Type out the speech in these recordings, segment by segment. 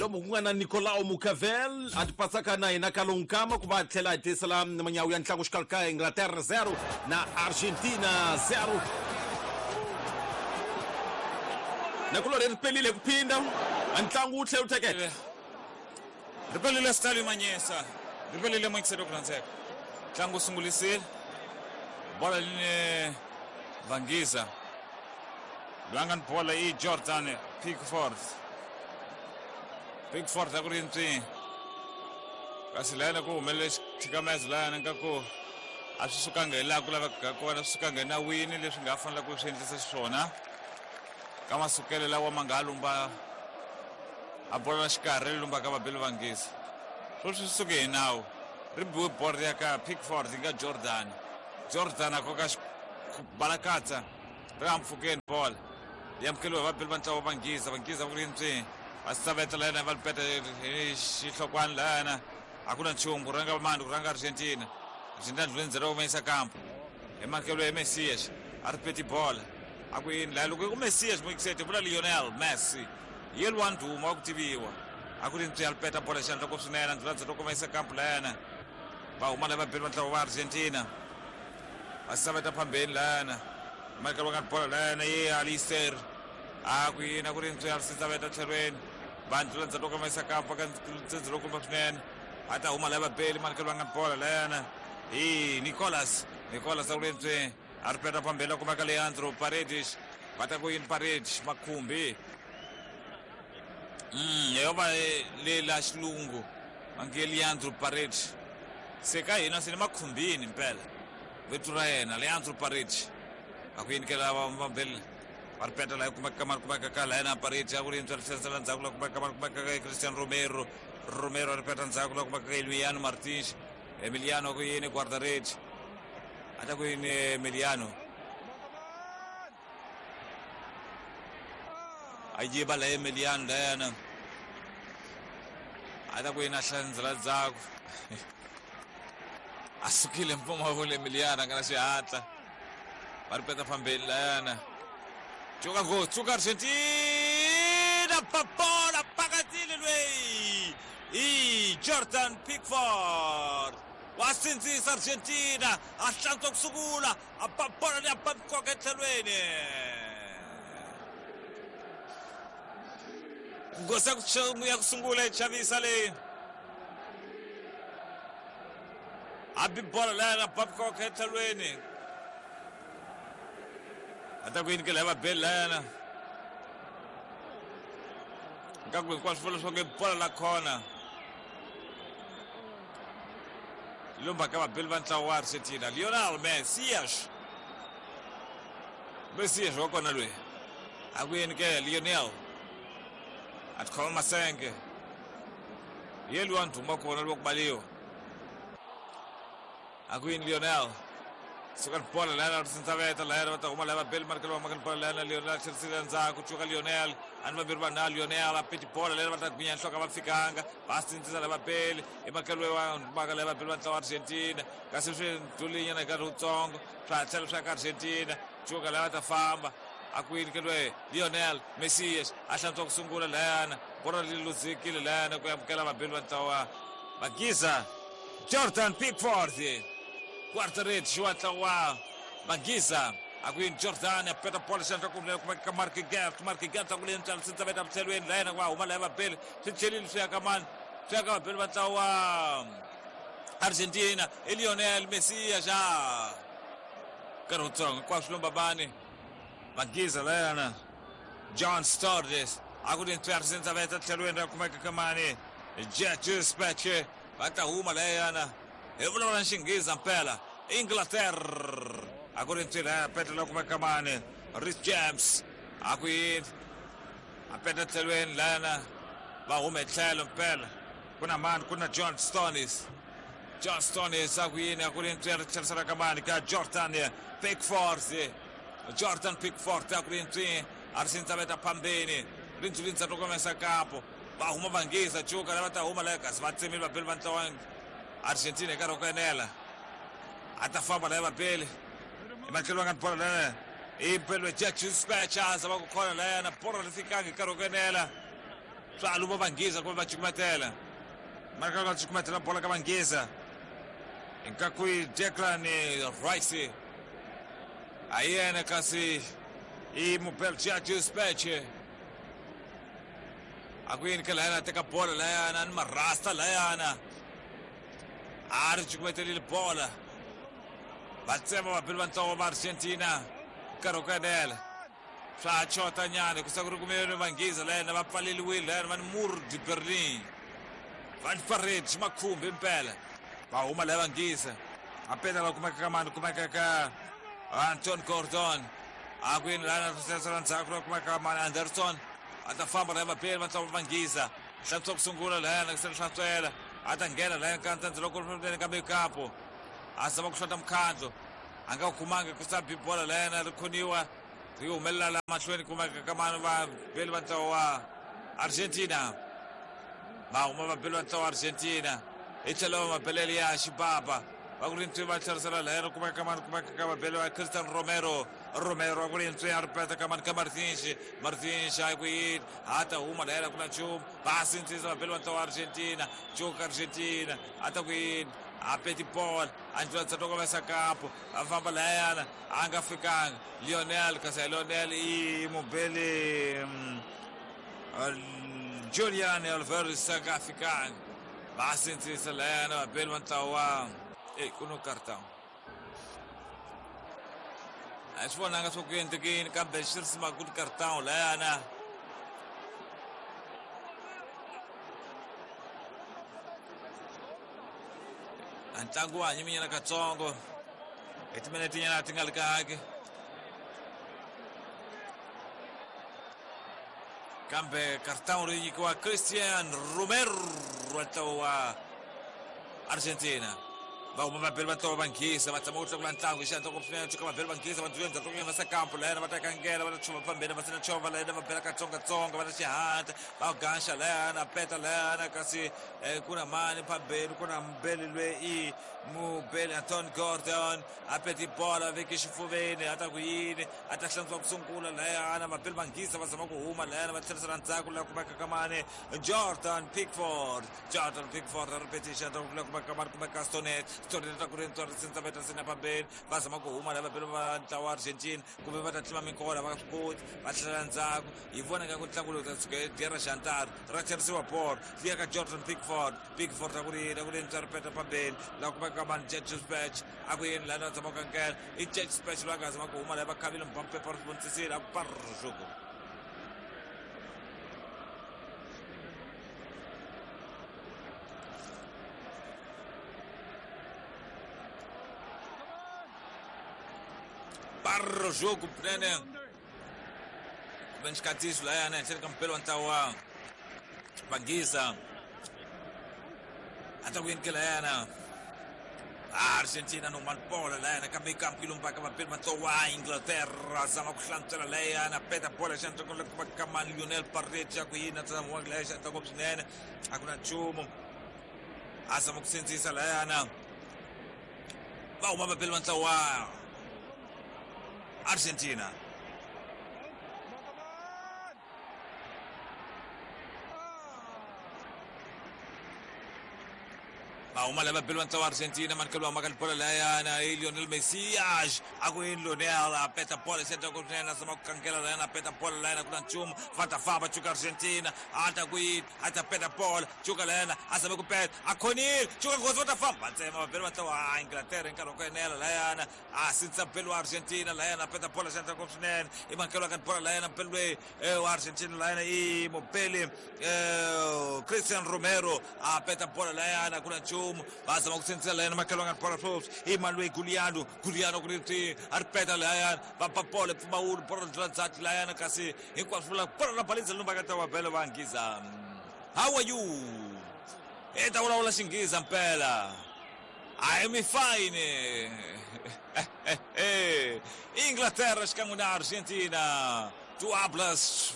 Lomu ku nga na Nicolao Mucavel a ti pasaka na yena Kalonkama ku va tlhela a tisela manyawu ya ntlangu xikarhi ka Inglaterra 0 na Argentina 0. Nakulorhi ri pelile ku phinda a ntlangu wu tlhela wu teketa. Ri pelile Stalin Manyesa, ri pelile Moikiselo ku rhandzeka. Ntlangu wu sungulisile. Bola line Vangiza. Loyi a nga ni bola i Jordan Pickford. Pickford a ku ri ntswi. Kasi layana ku humelele xithikamezo layana nga ku a swi sukanga hi laha ku lavekaka kona, swi sukanga enawini leswi nga fanela ku swi endlisa xiswona. Ka masukelo lawa ma nga ha lumba a bola la xikarhi ri lumba ka vabeli Vangiza. Sweswi swi suke hi nawu. Ri biwe bolo ri ya ka Pickford yi nga Jordan. Jordan a koka balakatsa ri ampfukeni bola. Yi amukeriwa hi vabeli va ntlawa wa Vangiza. Vangiza va ku ri ntswi va saveta layana va lipeta hi xihlokwana layana. A ku na nchumu ku rhanga mani ku rhanga Argentina. Argentina ndluleni ndzela wo yisa kampo. Hi makelo ya Messias a ri peti bola. A ku yini laya loko ku Messias Moikisete vula Lionel Messi. Yelwa ndhuma wa ku tiviwa. A ku ri ntswi a lipeta bola xandla ko swinene ndlula ndzela wo yisa kampo layana. Va huma lava vabeli va ntlawa wa Argentina. Va saveta phambeni layana. Michael wa nga bola layana ye Alister. A ku yini a ku ri ntswi a ri saveta tlhelweni. Va ndlula ndzhaku ka mayisa kampa ka ntsendze lowu kumba swinene. A ta huma lava beli Michael wa nga bola layana. Hi Nicolas. Nicolas a ku ri ntswi a ri peta phambeni la kuma ka Leandro Paredes. Va ta ku yini Paredes makhumbi. Yo va le la xilungu va nge Leandro Paredes. Se ka hina se ni makhumbini mpela. Vito ra yena Leandro Paredes. A ku yini ke lava va beli va ri peta laha kumeka ka kumeka ka la yena Paredes a ku ri ntswa ri tlherisela ndzhaku la kumeka ka kumeka ka Christian Romero. Romero a ri peta ndzhaku la kumeka ka Emiliano Martins. Emiliano a ku yini guarda-redes. A ta ku yini Emiliano. A yiva la Emiliano layana. A ta ku yini a hlandzela ndzhaku. A sukile mpfumawulo Emiliano a nga na xihatla. Va ri peta fambeni layana. Tsuka go, tsuka Argentina, papola pakatile lweyi. I Jordan Pickford. Wa sindzisa Argentina, a hlantswa ku sungula, a ba bola leyi a ba nkoka etlhelweni. Nghozi ya ku sungula yi chavisa leyi. A bi bola leyi a ba nkoka etlhelweni. A ta ku yini ke lava beli layana. Nkaku hinkwaswo vula leswaku i bola la khona. Lumba ka vabeli va ntlawa wa Argentina. Lionel Messias. Messias wa kona loyi. A ku yini ke Lionel. A tikhoma masenge. Ye luwa ndhuma kona luwa ku baliwa. A ku yini Lionel. Suka ni bola layana ri sindzaveta layana va ta huma laya vabeli marikelo va maka ni bola layana Lionel a tlherisile ndzhaku cuka Lionel a ni vambirhi vanhu na Lionel a peti bola layana va ta gwinya nhloko a va fikanga va sindzisa laya vabeli i makelo wa maka laya vabeli va ntlawa Argentina kasi swi ndlhulinyana hi nkarhi wutsongo swa ha tlhela swi ya ka Argentina cuka laya va ta famba a ku yini ke loyi Lionel Messias a hlantswa ku sungula layana bola ri luzekile layana ku amukela vabeli va ntlawa Magiza Jordan Pickford guarda-redes wa ntlawa Magiza a ku yini Jordan a peta bola xandla ku kuma ka Mark Gert Mark Gert a ku leyi ntswalo sindzaveta tlhelweni layena va huma laya vabeli swi tlhelile swi ya ka mani swi ya ka vabeli va ntlawa Argentina i Lionel Messi xa nkarhi wutsongo hinkwaswo lomba mani Magiza layana John Sturges a ku ri ntswari sindzaveta tlhelweni ra kumeka ka mani Jesus Peche va ta huma layana hi vulavula xinghiza mpela Inglaterra a ku ri ntswi laya peta la kumeka mani Rhys James a ku yini a peta tlhelweni layana va huma hi tlhelo mpela ku na mani ku na John Stones John Stones a ku yini a ku ri ntswi ri tlherisela ka mani ka Jordan Pickford Jordan Pickford a ku ri ntswi a ri sindzaveta phambeni ri ndzi ndzhaku komesa kapo va huma vangiza cuka lava ta huma laya kasi va tsemile vabeli va ntlawa Argentina hi nkarhi wa ku enela a ta famba laya vabeli ematlhelo va nga ni bola laya i mpelwe Jack Spatchers va ku khona layana bola ri fikanga hi nkarhi wa ku enela. Swa luma vanghiza kumbe va cukumetela. Marka va cukumetela bola ka vanghiza. Inkaku Declan Rice. A yena kasi i mubelgia Speche. A ku yini ka layana teka bola layana ni marasta layana. A ri cukumetelile bola. Va tsema vabeli va ntlawa va Argentina. Nkarhi wo kanela. Swa chota nyana ku sa ku ri kumele vanghiza layana va pfaleliwile layana va ni Mur de Berlin. Van Farid makhumbi impela. Va huma laya vanghiza. A peta la kumeka ka mani kumeka ka Anton Gordon. A ku yini lana tlherisela ndzhaku la kumeka ka mani Anderson. A ta famba laya vabeli va ntlawa vanghiza. Hlantswa ku sungula layana ku se hlantswela. A ta nghena layana ka ntsandze loko ri ka mekapo. A zama ku hlota mukhandlo. A nga kumanga ku sa bi bola layana ri khoniwa. Ri humelela la mahlweni kumeka ka mani vabeli va ntlawa wa Argentina. Va huma vabeli va ntlawa wa Argentina. Hi tlhelo mabelele ya xibaba. Va ku ri ntswi va tlherisela layana kumeka ka mani kumeka ka vabeli va Christian Romero. Romero a ku ri ntswi a ri peta ka mani ka Martins. Martins a ku yini a ta huma layana ku na nchumu. Va sindzisa vabeli va ntlawa wa Argentina. Cuka Argentina a ta ku yini a peti bola a ndlula ntsatoko va sakapo a famba layana a nga fikanga Lionel kasi Lionel i mubeli Julian Alvarez a nga fikanga. Va sindzisa layana vabeli va ntlawa wa ku no cartão. A swi vonanga swa ku endlekeni kambe xi ri sima ku cartão layana. A ntlangu wa hanyiminyana katsongo. Hi timinete nyana ti nga ri kahle. Kambe cartão ri nyikiwa Christian Romero wa ntlawa wa Argentina. Va huma vabeli va ntlawa va nghisa va tshama ku tlakula ntlangu hi xihatla ku swinene tshuka vabeli va nghisa va ndlhula ndzhaku ka sakampo layana va ta kangela va ta chova fambeni va sina chova layana va bela katsongatsonga va ta xihatla va ganxa layana peta layana kasi ku na mani phambeni ku na mubeli loyi i mubeli Anton Gordon a peti bola veki xifuveni a ta ku yini a ta hlantswa ku sungula layana vabeli va nghisa va zama ku huma layana va tlherisela ndzhaku laha kumeka ka mani Jordan Pickford. Jordan Pickford a ri peti xihatla ku kumeka ka mani kumeka Stonet. Stonet a ku ri ntswari sindza veta sina phambeni va zama ku huma lava vabeli va ntlawa wa Argentina kumbe va ta tlima minkola va swi koti va tlhela ndzhaku hi vona nga ku ntlangu lowu ta tshuka dya ra xantara ra tlherisiwa bolo liya ka Jordan Pickford. Pickford a ku ri yini a ku ri ntswari peta phambeni laha kumeka ka mani Jack Spatch a ku yini laha zama ku kankela i Jack Spatch loyi a nga zama ku huma laha va khavile mbampepa ri vonisisile a ku parruku. Barro jogo kunene kumbe xikatiso layana ehenhleni ka mupelo wa ntlawa wa vanghiza a ta ku yini ke layana Argentina no mani bola layana kambe kampu yi lombaka vabeli va ntlawa wa Inglaterra zama ku hlantswela layana peta bola xandla ku kuma ka mani Lionel Paredes a ku yini a tshama wa laya xandla ngopfu swinene a ku na nchumu a zama ku sindzisa layana va huma vabeli va ntlawa wa Argentina. Va huma lava vabeli va ntlawa wa Argentina manikelo wa maka bola layana i Lionel Messi a ku yini Lionel a peta bola xandla ku swinene a zama ku kangela layana a peta bola layana ku na nchumu va ta famba cuka Argentina a ta ku yini a ta peta bola cuka layana a zame ku peta a khonile cuka nghozi va ta famba va tsema vabeli va ntlawa wa Inglaterra hi nkarhi wa ku enela layana a sindza beli wa Argentina layana a peta bola xandla ku swinene i mankelo ka bola layana beli loyi wa Argentina layana i mubeli Christian Romero a peta bola layana ku na nchumu va zama ku sindzisa layana makelo nga bola flops i mani loyi Guliano Guliano ku ri ti a ri peta layana va ba bola pfumawulo bola ndlula ndzhaku layana kasi hinkwaswo vula bola ra balinza lumba ka ta bele va nghiza. How are you? E ta vulavula xinghiza mpela. I am fine. Inglaterra xikan'we na Argentina. Tu hablas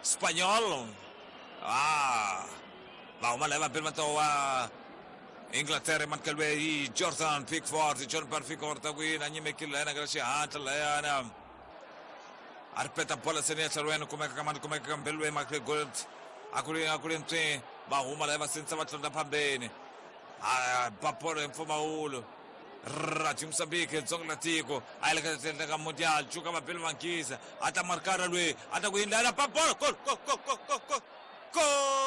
español? Ah, va huma lava vabeli va ntlawa wa Inglaterra manikelo i Jordan Pickford. Jordan Pickford a ku yini a nyimekile layana ka xihatla layana a ri peta bola seni ya tlhelweni kumeka ka mani kumeka ka mbeli loyi Michael Gold A ku ri a ku ri ntswi va huma laha va sindzisa va tlondla phambeni. A ba bolo hi mpfumawulo. Radio Mozambique dzonga la tiko a yi le ka endla ka mundial cuka va bele vankisa a ta markara lweyi a ta ku yini lana ba bolo gol gol gol gol gol gol.